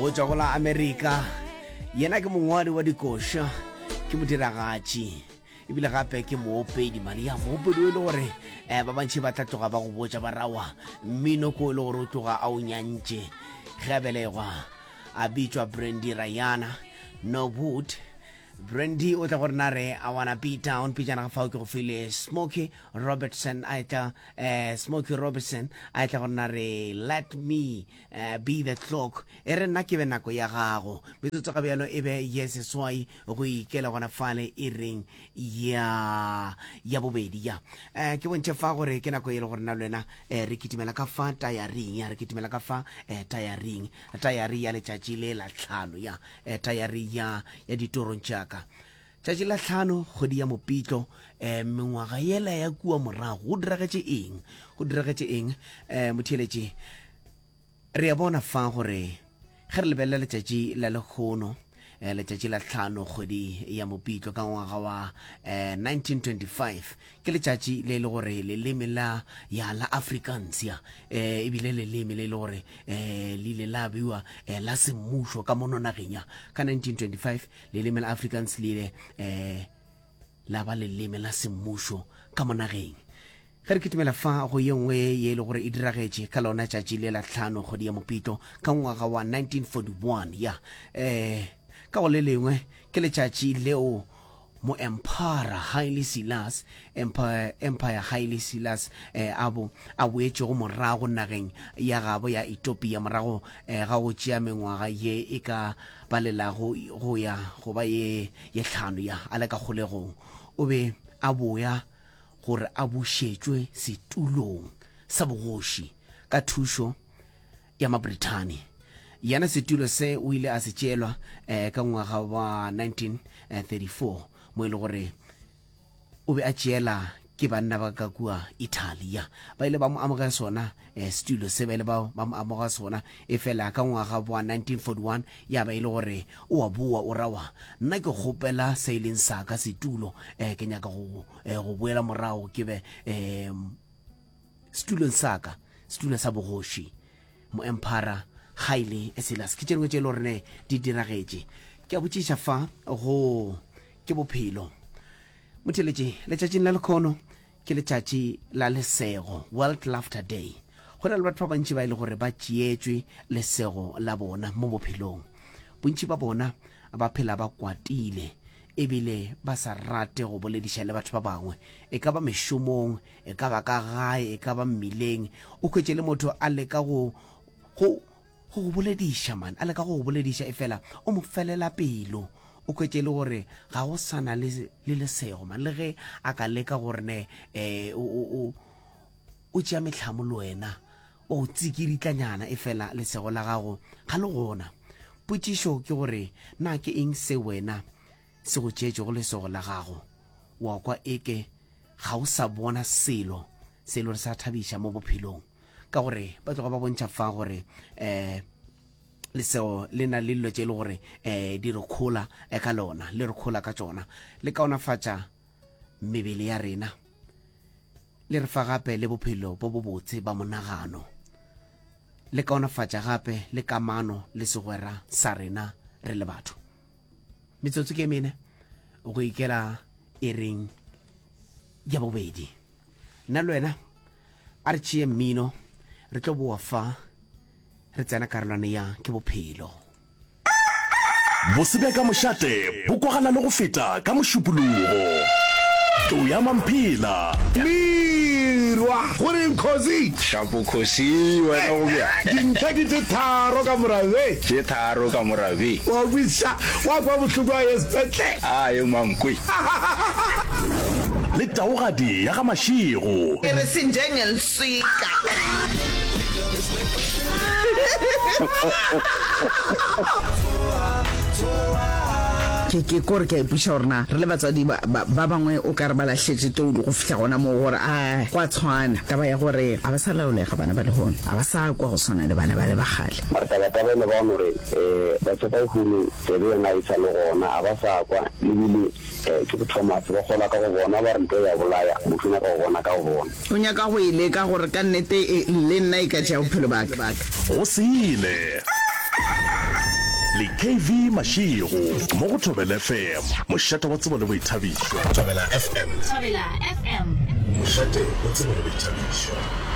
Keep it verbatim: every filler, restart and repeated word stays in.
Go tšwa go la Amerika. Yena ke mongwadi wa dikoša, ke modiragatši ebile gape ke moopedi mane ya moopedi o e le gore um ba bantši ba tla tloga ba go botša ba rawa mmino ko e le gore o tloga a o nyantše ge a belegwa a bitšwa Brandy Rayana Norwood Brandy o tla go rena re I wanna be down pejana ga fao ke go file Smokey Robertson a etla eh, Smokey Robertson a etla go rena re let me eh, be the clock e re nna ke be nako ya gago metsotso ga bjalo e be ye seswai go ikela gona fale e reng ya ya bobedi ya eh, ke bontšhe fa gore ke nako e le gore na le wena eh, re kitimela ka fa tayaring ya re kitimela ka fa eh, tayaring tayari ya letšatši le la tlhano ya eh, tayari ya ya ditorong tšaka tšatši la tlhano kgwedi ya mopitlo eh, mengwaga yela ya kua morago go diragetše eng go diragetše eng eh, motheeletši re a bona fa gore ge re lebelela letšatši la lekgono eh, letšatši la tlhano kgwedi ya mopitlo ka ngwaga wa eh, nineteen twenty-five ke letšatši le e le gore leleme la ya la Afrikaans ya eh, ebile leleme le e le gore eh, le ile la bewa eh, la semmušo ka mono nageng ya ka nineteen twenty-five leleme la Afrikaans le ile eh, la ba leleme la semmušo ka mo nageng. Ge re kitimela fa go ye nngwe ye e le gore e diragetše ka lona tšatši le la tlhano kgwedi ya Mopitlo ka ngwaga wa nineteen forty-one ya eh, ka go le lengwe ke letšatši leo moemphara Haile Selassie, Empire, Empire Haile Selassie eh, a bo a boetšego morago nageng ya gabo ya Ethiopia morago eh, ga go tšea mengwaga ye e ka balelago go ya go ba ye ye hlano ya a le ka kgolegong. O be a boya gore a bušetšwe setulong sa bogoši ka thušo ya Mabrithani. Yena setulo se o ile a se tšeelwa eh, ka ngwaga wa nineteen thirty-four mo e le gore o be a tšeela ke banna ba ka kua Italia. Ba ile ba mo amoga sona eh, setulo se, ba ile ba ba mo amoga sona e fela ka ngwaga wa nineteen forty-one ya ba e le gore o a boa o rawa nna ke kgopela se e leng sa ka setulo eh, ke nyaka go eh, go boela morago ke be eh, setulong sa ka, setulo sa bogoši. Moemphara Haile Selassie ke tše dingwe tše e le gore ne di diragetše. Ke a botšiša fa go ke bophelo motheletše letšatšing la lekhono ke letšatši la lesego, World Laughter Day. Go na le batho ba bantši ba e le gore ba tšeetšwe lesego la bona mo bophelong. Bontši ba bona ba phela ba kwatile ebile ba sa rate go bolediša le batho ba bangwe, e ka ba mešomong, e ka ba ka gae, e ka ba mmileng. O hwetše le motho a leka go go go go bolediša man, a leka go go bolediša e fela o mo felela pelo. O hwetše le gore ga go sana le le lesego man, le ge a ka leka gore ne eh o o o o tšea mehlamo le wena, o tsikiritlanyana e fela lesego la gago ga le gona. Potšišo ke gore na ke eng se wena se go tšeetšego lesego la gago? Wa kwa eke ga o sa bona selo se e le gore sa thabiša mo bophelong, ka gore ba tloga ba bontšha fa gore eh lesego le na le dilo tše e le gore eh di re khola eh, ka lona, le re khola ka tšona, le kaonafatša mebele ya rena, le re fa gape le bophelo bo bobotse ba monagano, le kaonafatša gape le kamano le segwera sa rena re le batho. Metsotso ke mene go ikela e reng ya bobedi. Nna le wena a re tšee mmino, re tlo boa fa re tsena karolwana ya ke bophelo. Bose bja ka mošate bo kwagala le go feta ka Mošupologo. Tlou ya Mamphela. Mirwa, Go reng Khosi? Shapo Khosi, wena go bjang? Dintlha ke tše tharo ka morabe. Tše tharo ka morabe. Wa kwešiša, wa kwa bohloko a ye sepetlele. A ye mankwe. Le taogadi ya ga Mashego. Ke re sinjengelswika. Ke, ke kore ke a ipuša gore na re le batswadi ba, ba, ba bangwe o ka re ba lahletše toulo go fihla gona moo gore a go a tshwana. Taba ya gore ga ba sa laolega bana ba lehono, ga ba sa kwa go swana le bana bale ba kgale. Mara taba-taba e le ba no re, Batho ba lehono tsebe yona ga e sa le gona, ga ba sa kwa, le bile ke bo Thomas, ba kgolwa ka go bona, ba re nto ya bolaya, motho o nyaka go bona ka go bona. O nyaka go e leka gore ka nnete e, le nna e ka tšea bophelo ba ka. Go sele. Le K V Mashego mo go Thobela F M, mošate wa tsebo le boithabišo. Thobela F M. Thobela F M. Mošate wa tsebo le boithabišo.